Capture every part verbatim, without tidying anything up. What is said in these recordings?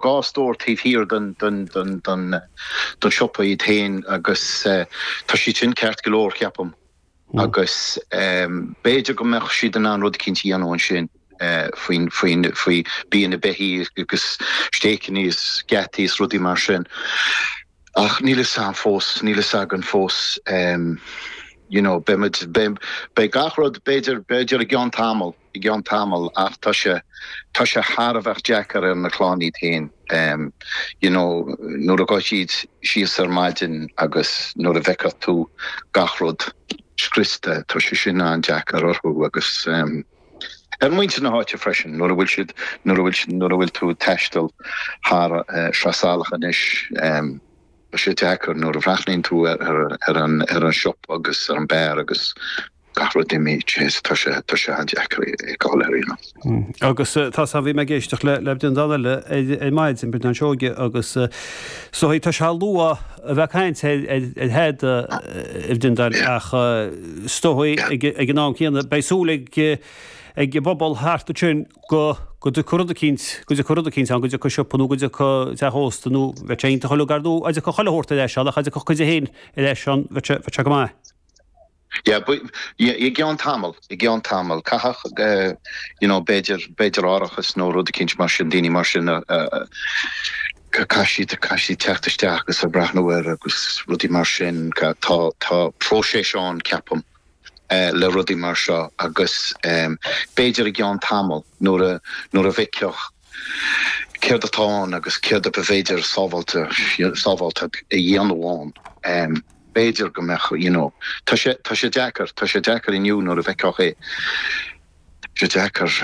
dhá stór taobh thiar den den den den den siopa iad féin agus tá siad sin ceart go leor, ceapaim, agus b'fhéidir go mbeadh siad in ann rud eicínt a dhéanamh ansin faoin faoin faoi bia na beithí agus stéiceanna is geataí is rudaí mar sin. Ach níl fhios agam fós, níl fhios againn fós, you know, beidh muid, beidh, beidh gach rud b'fhéidir, b'fhéidir i gceann tamall, i gceann tamall ach tá sé, tá sé thar a bheith deacair ar na clann iad féin, you know, nuair a ghabhfaidh siad síos ar maidin agus nuair a bhfeicfeadh tú gach rud scriosta, tá sé sin an-deacair orthu agus ar mhuintir na háite freisin nuair a bhfuil siad, nuair a bhfuil, nuair a bhfuil tú ag taisteal thar Sraith Salach anois, tá sé deacair nuair a bhreathnaíonn tú ar ar an ar an siopa agus ar an beár agus gach rud imithe, jeez, tá sé tá sé an-deacair é a fheiceáil ar aon nós. Agus tá 's agam, bhí mé ag éisteacht le le Breandán eile ar ar maidin, Breandán Seoige, agus is dóigh tá sé luath a bheith ag caint ar ar ar thada, a Bhreandáin, ach is dóigh ag ag an am céanna beidh súil ag ag an bpobal thart ansin go go dtiocfaidh rud eicínt, go dtiocfaidh rud eicínt ann, go dtiocfaidh siopa nó go dtiocfaidh teach ósta nó bheadh sé iontach uilig ar ndóigh dá dtiocfadh chuile shórt ar ais ann ach dá dtiocfadh cuid de féin ar ais ann bheadh sé bheadh sé go maith. Yeah, but yeah, i gceann tamall, i gceann tamall, caithfidh, you know, b'fhéidir, b'fhéidir árachas nó rud eicínt mar sin, daoine mar sin a, caithfidh siad, caithfidh siad teacht isteach agus a breathnú air agus rudaí mar sin, tá, tá próiseas ann, ceapaim. le rudaí mar seo agus b'fhéidir i gceann tamall nuair a nuair a bhfeicfeadh céard atá ann agus céard a b'fhéidir sábháilte sábháilte a dhéanamh ann b'fhéidir go mbeadh you know tá sé tá sé deacair tá sé deacair inniu nuair a bhfeicfeadh é tá sé deacair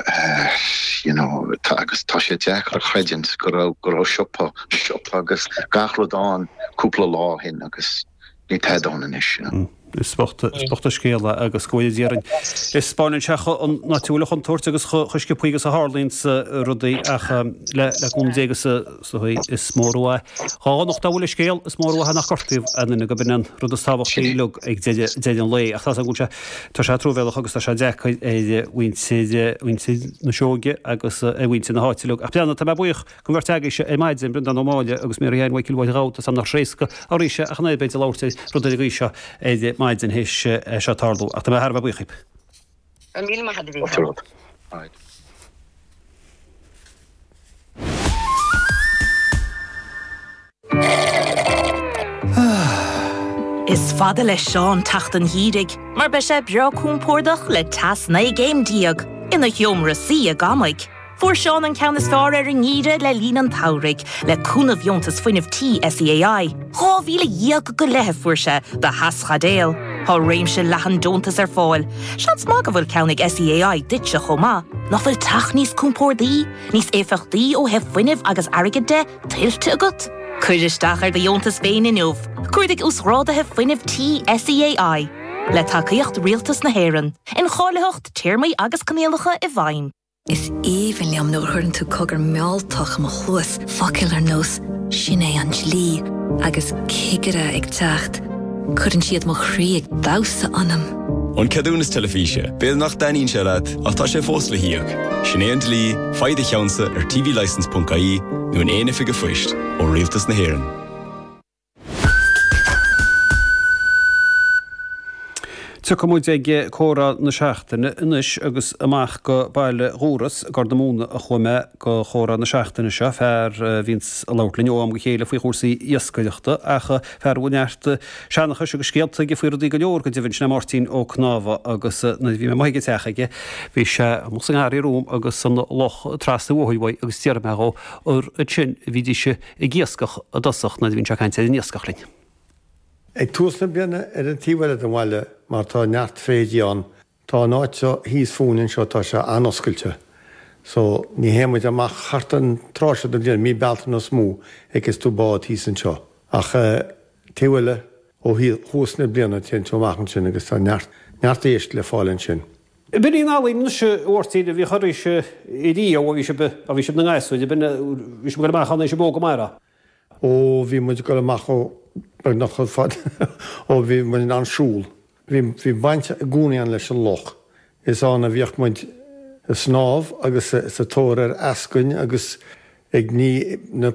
you know tá agus tá sé deacair a chreidiúint go raibh go raibh siopa siopa agus gach rud ann cúpla lá ó shin agus Níl tada ann anois. Is bocht an scéal é agus go bhfóire Dia orainn. Is spáineann sé an áit a bhfuil an chontúirt agus chomh sciobthaí agus a tharlaíonns rudaí ach le cúnamh Dé agus is dóigh is mór an mhaith dhá dhonacht dá bhfuil an scéal, is mór an mhaith nach gortaíodh aon duine gurb in an rud is tábhachtaí uilig ag deireadh an lae. Ach tá go bhfuil sé, tá sé truamhéalach agus tá sé deacair ar mhuintir, mhuintir na Seoige agus ar mhuintir na háite uilig. Ach Breandán, tá mé buíoch. Den bheirt agaibhse ar maidin, Breandán Ó Máille agus Mary Ann Mhichael Mháire Ghabha, tá 's agam nach éasca arís ach an oiread b'fhéidir labhairt ar rud ar an gcaoi seo ar maidin théis é seo tarlú. Ach tá mé thar a bheith buíoch dhíbh. Go raibh míle maith agat, a Mhícheáil. Is fada le Seán teacht an gheimhridh mar beidh sé breá compordach le teas naoi gcéim déag ina sheomra suí i gCamaigh. Fuair Seán an ceann is fearr ar an ngeimhreadh le linn an tsamhraidh, le cúnamh Dheontas Fuinnimh Tí SEAI. Dhá mhíle dhéag go leith a fuair sé do theaschaidéal. Tá réimse leathan deontas ar fáil. Seans maith go bhfuil ceann ag SEAI duitse chomh maith. Nach bhfuil teach níos compórdaí, níos éifeachtaí ó thaobh fuinnimh agus airgid de, tuillte agat? Cuir isteach ar do dheontas féin inniu. Cuardaigh Uasghráduithe Fuinnimh Tí SEAI. Le tacaíocht Rialtas na hÉireann. Incháilitheacht, téarmaí agus coinníollacha i bhfeidhm. Is aoibhinn liom nuair a chuireann tú cogar mealltach i mo chluas, focail ar nós 'sin é an dlí' agus 'cigire ag teacht'. Cuireann siad mo chroí ag damhsa ionam. An Ceadúnas Teilifíse, b'fhéidir nach dtaitníonn sé leat, ach tá sé fós le híoc. Sin é an dlí, faigh do cheannsa ar tvlicence.ie nó in aon oifig an phoist ó Rialtas na hÉireann. Tiocfaidh muid ag comhrá na seachtaine anois agus amach go Baile Dhúras, Gort na Móna a chuaigh mé go chomhrá na seachtaine seo, fear a bhíonns ag labhairt linn ó am go chéile faoi chúrsaí iascaireachta ach fear a bhfuil neart seanchais agus scéalta aige faoi rudaí go leor go deimhin, sin é Máirtín Ó Cnámha agus nuair a bhí mé amuigh ag an teach aige bhí sé amuigh sa ngarraí romham agus an loch trasna an bhóthair uaidh agus d'fhiafraigh mé dhó ar ansin a bhídís ag iascach i dtosach nuair a bhíonn sé ag caint ar an iascach linn. Ag tús na bliana ar an taobh eile den bhaile mar tá neart fraoigh ann, tá an áit seo thíos fúinn anseo, tá sé an-oscailte so ní théann muid amach thart an tráth seo den bhliain, mí Bealtaine is mó a fheiceas tú bád thíos anseo. Ach taobh eile ó thús na bliana téann tú amach ansin agus tá neart, neart éisc le fáil ansin. B'in í an ealaín anois a Mháirtín a bhíodh oraibhse riamh ó bhí sibh, ó bhí sibh ina ngasúir, b'in, bhí sibh ag dul amach ann ó bhí sibh óg go maith, a. Ó bhí muid ag dul amach ó beagnach chomh fada ó bhí muid in ann siúl. Bhí bhí baint i gcónaí againn leis an loch. Is ann a bhíodh muid ag snámh agus sa tóir ar eascainn agus ag ní na